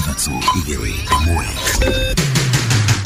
3, 2, 1.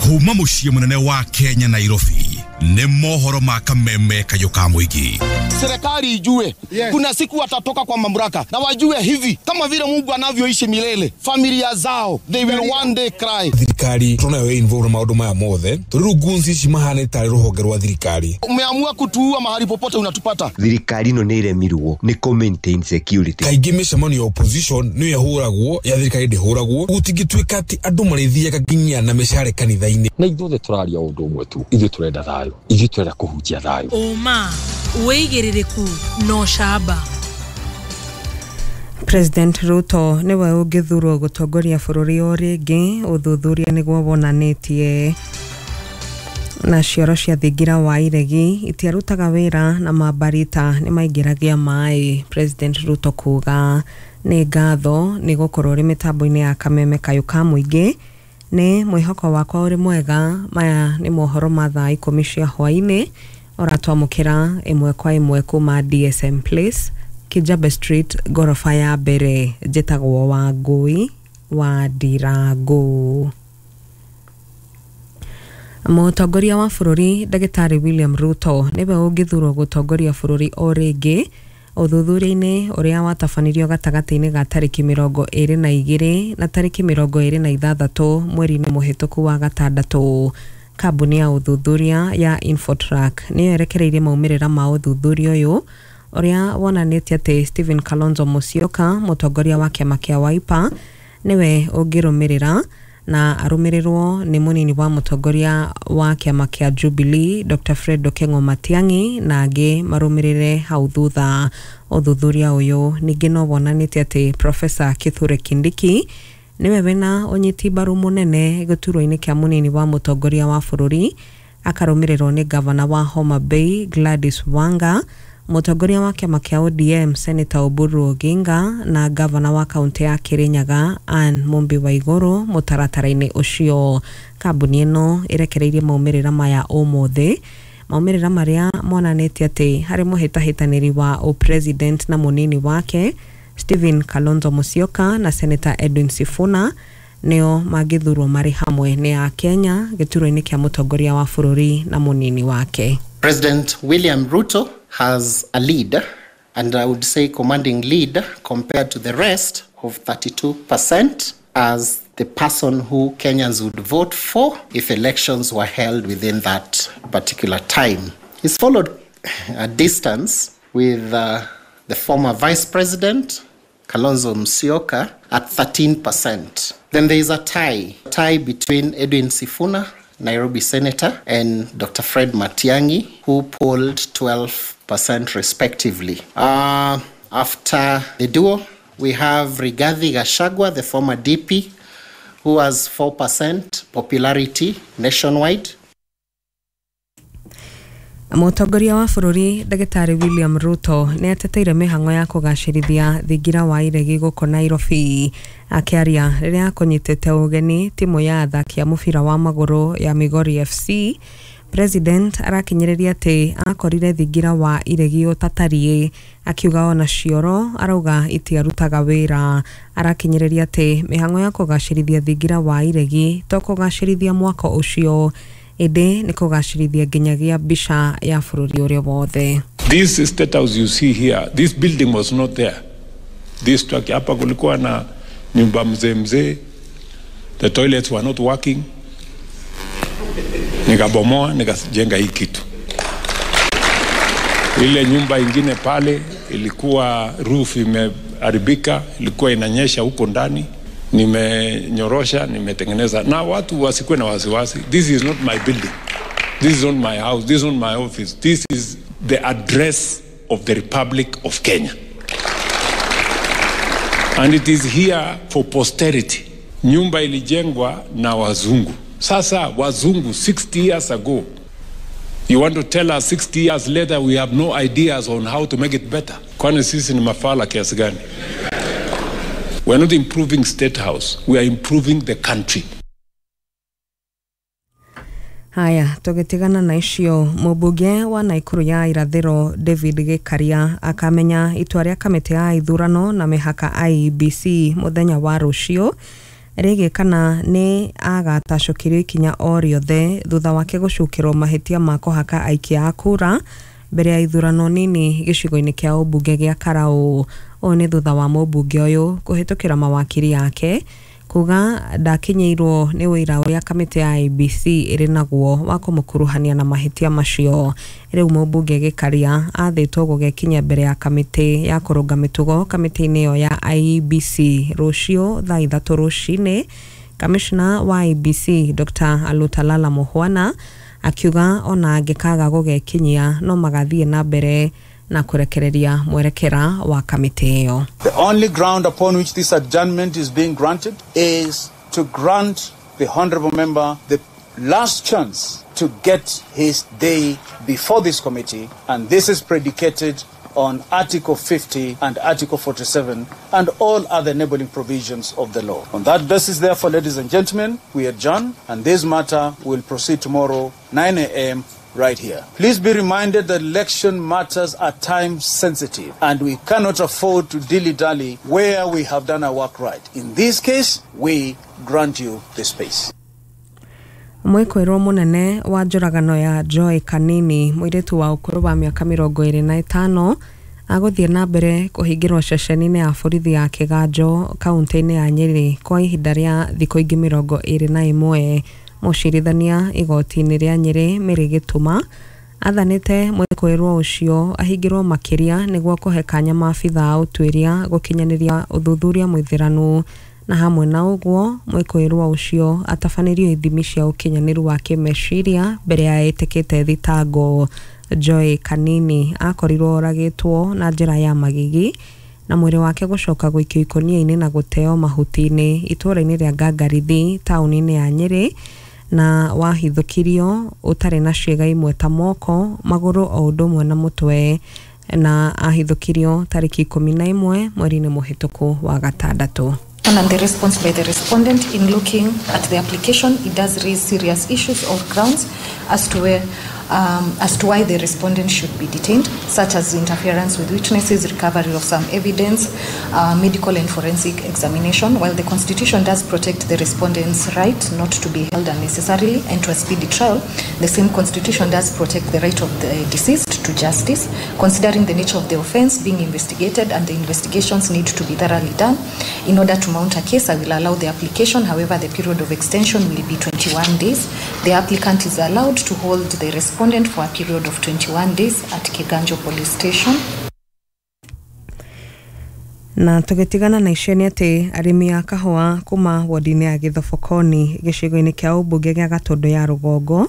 Kuma muciĩ mũnene wa Kenya Nairobi nĩ mohoro ma kameme kayũ ka mũingĩ. Serikali ijue, yes, kuna siku watatoka kwa mamlaka na wajue hivi kama vile Mungu anavyoishi milele, familia zao they will one day cry. Thirikari tunayo involve na maundu maya mothe turi ngunzi ici mahane tari ruhonge rwa thirikari. Umeamua kutuua mahali popote unatupata. Thirikari ino nĩ iremirwo nĩ kũ maintain security. Kaingĩ mĩcemanio ya opposition nĩyo ĩhũragwo ya thirikari ndĩhũragwo. Gũtingĩtuĩka atĩ andũ marĩthiaga nginya na mĩcare kanitha-inĩ. Na ithuothe tũraria ũndũ ũmwe tu, ithuĩ tũrenda thayũ, ithuĩ tũrenda kũhunjia thayũ. Ũma wĩigĩrĩrĩku no camba. President Ruto niwe ũngĩthurwo gũtongoria bũrũri o rĩngĩ, ũthuthuria nĩguo wonanĩtie. Na cioro cia thingira wa iregi itiarutaga wĩra na mambarita nĩ maingĩragia maĩ, President Ruto kuga. Nĩ ngatho nĩ gũkorwo ũrĩ mĩtambo-inĩ ya kameme kayũ ka mũingĩ, nĩ mwĩhoko wakwa ũrĩ mwega. Maya nĩ mohoro ma thaa 10 cia hwaĩ-inĩ ũratwamũkĩra ĩmwe kwa ĩmwe kuma DSM Place, Kijabe Street, gorofa ya mbere. Njĩtagwo Wangũi wa Ndirangu. Mũtongoria wa bũrũri Ndagĩtarĩ William Ruto nĩwe ũngĩthurwo gũtongoria bũrũri o rĩngĩ, ũthuthuria-inĩ ũrĩa watabanirio gatagatĩ-inĩ ga tarĩki 22 na tarĩki 26 mweri-inĩ mũhĩtũku wa gatandatũ. Kambuni ya ũthuthuria ya Infotrack nĩyo ĩrekereirie maumĩrĩra ma ũthuthuria ũyũ ũrĩa wonanĩtie atĩ Stephen Kalonzo Musyoka, mũtongoria wa kĩama kĩa Wiper, nĩwe ũngĩrũmĩrĩra na arũmĩrĩrwo nĩ mũnini wa mũtongoria wa kĩama kĩa Jubilee Dr. Fred Okengo Matiang'i na angĩ marũmĩrĩre hau thutha. Ũthuthuria ũyũ ningĩ no wonanĩtie atĩ Professor Kithure Kindiki nĩwe wĩna ũnyiti mbaru mũnene gĩturwa-inĩ kĩa mũnini wa mũtongoria wa bũrũri, akarũmĩrĩrwo nĩ gavana wa Homa Bay Gladys Wanga, mũtongoria wa kĩama kĩa ODM Senator Oburu Oginga na gavana wa kaunti ya Kirinyaga Anne Mumbi Waiguru mũtaratara-inĩ ũcio. Kambuni ĩno ĩrekereirie maumĩrĩra maya ũmũthĩ, maumĩrĩra marĩa monanĩtie atĩ harĩ mũhĩtahĩtanĩri wa ũpresident na mũnini wake Stephen Kalonzo Musyoka na Senator Edwin Sifuna nĩo mangĩthurwo marĩ hamwe nĩ a Kenya gĩturwa-inĩ kĩa mũtongoria wa bũrũri na mũnini wake. President William Ruto has a lead, and I would say commanding lead compared to the rest of 32% as the person who Kenyans would vote for if elections were held within that particular time. He's followed a distance with the former Vice President, Kalonzo Musyoka, at 13%. Then there is a tie between Edwin Sifuna, Nairobi Senator, and Dr. Fred Matiang'i, who polled 12% respectively. After the duo, we have Rigathi Gachagua, the former DP, who has 4% popularity nationwide. Mũtongoria wa bũrũri Ndagĩtarĩ William Ruto nĩ ateteire mĩhang'o ya kũgacĩrithia thingira wa iregi gũkũ Nairobi. Akĩaria rĩrĩa akũnyitĩte ũgeni timu ya athaki a mũbira wa magũrũ ya Migori FC, President arakinyĩrĩria atĩ akorire thingira wa iregi ũtatariĩ, akiuga ona cioro arauga itiarutaga wĩra. Arakinyĩrĩria atĩ mĩhang'o ya kũgacĩrithia thingira wa iregi to kũgacĩrithia mwako ũcio, ĩndĩ nĩ kũgacĩrithia nginyagia mbica ya bũrũri ũrĩa wothe. This state house you see here, this building was not there. This structure hapa kulikuwa na nyumba mzee mzee. The toilets were not working. Nikabomoa, nikajenga hii kitu. Ile nyumba ingine pale ilikuwa roof imeharibika, ilikuwa inanyesha huko ndani. Nimenyorosha, nimetengeneza. Na watu wasikuwe na wasiwasi. This is not my building. This is not my house. This is not my office. This is the address of the Republic of Kenya. And it is here for posterity. Nyumba ilijengwa na wazungu. Sasa wazungu 60 years ago. You want to tell us 60 years later we have no ideas on how to make it better? Kwani sisi ni mafala kiasi gani? We are not improving State House, we are improving the country. Haya, tũgĩtigana na icio, mũmbunge wa Naikuru ya irathĩro David Gĩkaria akamenya itua rĩa kamĩtĩ ya ithurano na mĩhaka IEBC mũthenya wa rũciũ. rĩgiĩ kana nĩ agatacũkĩrio ikinya o rĩothe thutha wake gũcukĩrwo mahĩtia ma kũhaka aikia a kura mbere ya ithurano nini gĩcigo-inĩ kĩa ũmbunge gĩa Karau. Ũũ nĩ thutha wa mũmbunge ũyũ kũhĩtũkĩra mawakiri yake kuga ndakinyĩirwo nĩ ũira ũrĩa kamĩtĩ ya IEBC ĩrĩ naguo wa kũmũkuruhania na mahĩtia macio. Rĩu mũmbunge Gĩkaria athĩtwo gũgekinya mbere ya kamĩtĩ ya kũrũnga mĩtugo kamĩtĩ-inĩ ĩyo ya IEBC rũciũ thaa 3 rũcinĩ. Kamishna wa IEBC Dr. Alutalala Muhwana akiuga ona angĩkaga gũgekinyia no magathiĩ na mbere na kurekereria mwerekera wa kamĩtĩ ĩyo. The only ground upon which this adjournment is being granted is to grant the honorable member the last chance to get his day before this committee, and this is predicated on Article 50 and Article 47 and all other enabling provisions of the law. On that basis, therefore, ladies and gentlemen, we adjourn, and this matter will proceed tomorrow, 9 a.m. right here. Please be reminded that election matters are time sensitive, and we cannot afford to dilly-dally where we have done our work right. In this case, we grant you the space. Mwĩkũĩrwo mũnene wa njũragano ya Joy Kanini, mũirĩtu wa ũkũrũ wa mĩaka 25, agũthiĩ na mbere kũhingĩrwo ceceni-inĩ ya borithi ya Kĩganjo kaunti-inĩ ya Nyĩrĩ kwa ihinda rĩa thikũ ingĩ 21. Mũcirithania igoti-inĩ rĩa Nyĩrĩ Mary Gĩtuma athanĩte mwĩkũĩrwo ũcio ahingĩrwo makĩria nĩguo kũhe kanya maabitha a ũtuĩria gũkinyanĩria ũthuthuria mũithĩranu, na hamwe na ũguo mwĩkũĩrwo ũcio atabanĩrio ithimi cia ũkinyanĩru wa kĩmeciria mbere ya ĩtĩkĩte thitango. Joy Kanini akorirwo oragĩtwo na njĩra ya magigi na mwĩrĩ wake gũcoka gũikio ikũnia-inĩ na gũteo mahuti-inĩ itũũra-inĩ rĩa Ngangarithi taũni-inĩ ya Nyĩrĩ, na wahithũkirio ũtarĩ na ciĩga imwe ta moko, magũrũ o ũndũ ũmwe na mũtwe, na ahithũkirio tarĩki 11 mweri-inĩ mũhĩtũku wa gatandatũ. And the response by the respondent in looking at the application, it does raise serious issues or grounds as to where, as to why the respondent should be detained, such as interference with witnesses, recovery of some evidence, medical and forensic examination. While the Constitution does protect the respondent's right not to be held unnecessarily and to a speedy trial, the same Constitution does protect the right of the deceased to justice, considering the nature of the offense being investigated, and the investigations need to be thoroughly done. In order to mount a case, I will allow the application. However, the period of extension will be 21 days. The applicant is allowed to hold the respondent for a period of 21 days at Kiganjo Police Station. Na tũgĩtigana na icio nĩ atĩ arĩmi a kahũa kuma wodi-inĩ ya Gĩthobokoni gĩcigo-inĩ kĩa ũmbunge gĩa Gatũndũ ya Rũgongo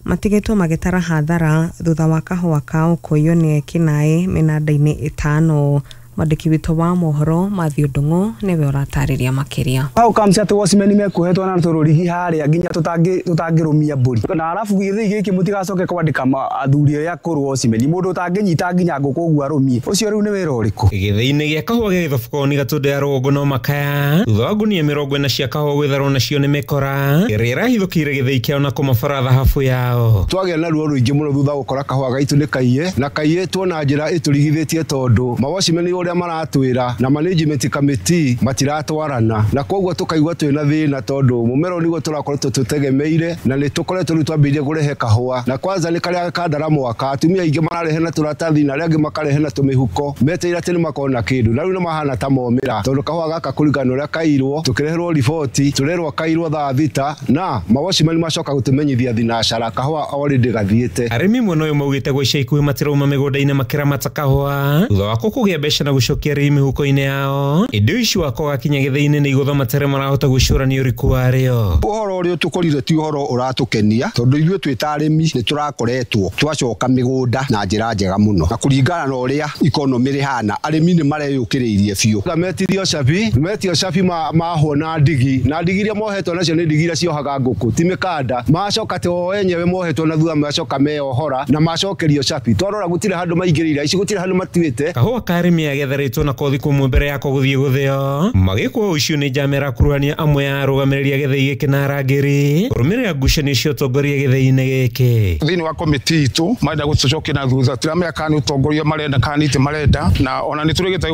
matigĩtwo magĩtara hathara thutha wa kahũa kao kũiywo nĩ ekinaĩ mĩnanda-inĩ 5. Mwandĩki witũ wa mohoro Matthew Ndung'u nĩwe ũratarĩria makĩria. How comes atĩ watchmen mekuohetwo na tũrũrigi harĩa nginya tũtangĩrũmia mbũri, na arabu gĩthĩi gĩkĩ mũtigacoke kwandĩka athuri arĩa akũrũ watchmen, mũndũ ũtangĩnyita nginya ngũkũ ũguo arũmie, ũcio rĩu nĩ wĩra ũrĩkũ? Gĩthĩi-inĩ gĩa kahũa gĩa Gĩthobokoni Gatũndũ ya Rũgongo no makaya thutha wa ngunia 40 cia kahũa gwĩtharwo nacio nĩ mĩkora ĩrĩa ĩrahithũkĩire gĩthĩi kĩao na kũmabara thahabu yao. Twagĩa na ruo rũingĩ mũno thutha gũkora kahũa gaitũ nĩ kaiye na kaiyĩtwo na njĩra ĩtũrigithĩtie tondũ mawatchmen ũrĩa maratwĩra na management committee matiratwarana, na koguo tukaigua twĩna thĩna tondũ mũmero nĩguo tũrakoretwo tũtegemeire na nĩ tũkoretwo rĩu twambĩrĩrie kũrehe kahũa, na kwanza nĩ karĩa kandara mwaka atumia aingĩ mararehe na tũratathi na arĩa angĩ makarehe na tũmĩhuko metereire atĩ nĩ makona kĩndũ, na rĩu nĩ mahana ta momĩra tondũ kahũa gaka kũringana na ũrĩa kairwo tũkĩreherwo riboti tũrerwo kairwo thaa 6 na mawatchmen macoka gũtũmenyithia thinacara kahũa already gathiĩte. Arĩmi mwena ũyũ maugĩte gwa ica ikuhĩ matirauma mĩgũnda-inĩ makĩramata kahũa thutha wa kũgĩa mbeca na gũcokia rĩi mĩhuko-inĩ yao, ĩndĩ ũici wa kwaga kinya gĩthĩi-inĩ nĩ igũtha matarĩ marahota gwĩcũrania ũriku warĩo. Ũhoro ũrĩa ũtũkorire ti ũhoro ũratũkenia tondũ ithuĩ twĩ ta arĩmi nĩ tũrakoretwo twacoka mĩgũnda na njĩra njega mũno, na kũringana na ũrĩa ikonomĩ rĩhana arĩmi nĩ mareyũkĩrĩirie biũ. Metirio cabi, metio cabi mahwo na ndigi, na ndigi iria mohetwo nacio nĩ ndigi iria ciohaga ngũkũ ti mĩkanda, macoka atĩ o enyewe mohetwo na thutha macoka meyohora na macokerio cabi. Twarora gũtirĩ handũ maingĩrĩire, ici gũtirĩ handũ matuĩte. Kahũa ka arĩmi a gĩatharĩtwo na kothi kũmwe mbere yako gũthiĩ gũthĩo magĩkwo ũcio nĩ njama ĩrakuruhania amwe ya arũgamĩrĩri a gĩthĩi gĩkĩ na arangĩri kũrũmĩrĩra ngucanio cia ũtongoria gĩthĩi-inĩ gĩkĩ. Thĩinĩ wa komiti itũ marenda gũtũcokia na thutha, tiramenya kana nĩ ũtongoria marenda kana nĩ itĩ marenda, na ona nĩ tũrĩgĩte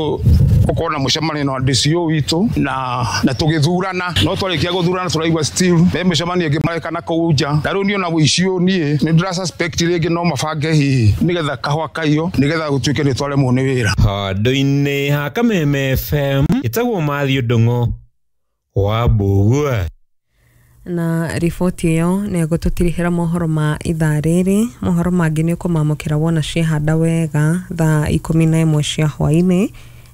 gũkorwo na mũcemanio na DCO witũ na tũgĩthurana, no twarĩkia gũthurana tũraigua still me mĩcemanio ĩngĩ mareka na kũu nja, na rĩu niĩ ona ũici ũyũ niĩ nĩ ndĩra suspect rĩngĩ no mabange hihi nĩgetha kahũa kaiywo nĩgetha gũtuĩke nĩ twaremwo nĩ wĩra. Handũ-inĩ ha Kameme FM ĩtagwo Matthew Ndung'u wa Mbugua. Na riboti ĩyo nĩ ĩgũtũtirihĩra mohoro ma ithaa rĩrĩ. Mohoro mangĩ nĩ ũkũmamũkĩra wona ciehanda wega thaa 11 cia hwaĩ-inĩ.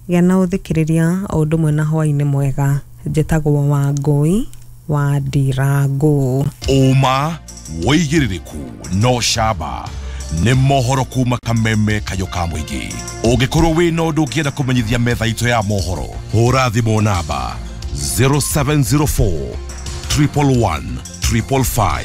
Gĩa na ũthikĩrĩria o ũndũ ũmwe na hwaĩ-inĩ mwega. Njĩtagwo Wangũi wa Ndirangũ. Ũma wĩigĩrĩrĩku no camba nĩ mohoro kuma Kameme kayũ ka mũingĩ. Ũngĩkorwo wĩna ũndũ ũngĩenda kũmenyithia metha itũ ya mohoro, hũra thimũ namba 0704 111 555.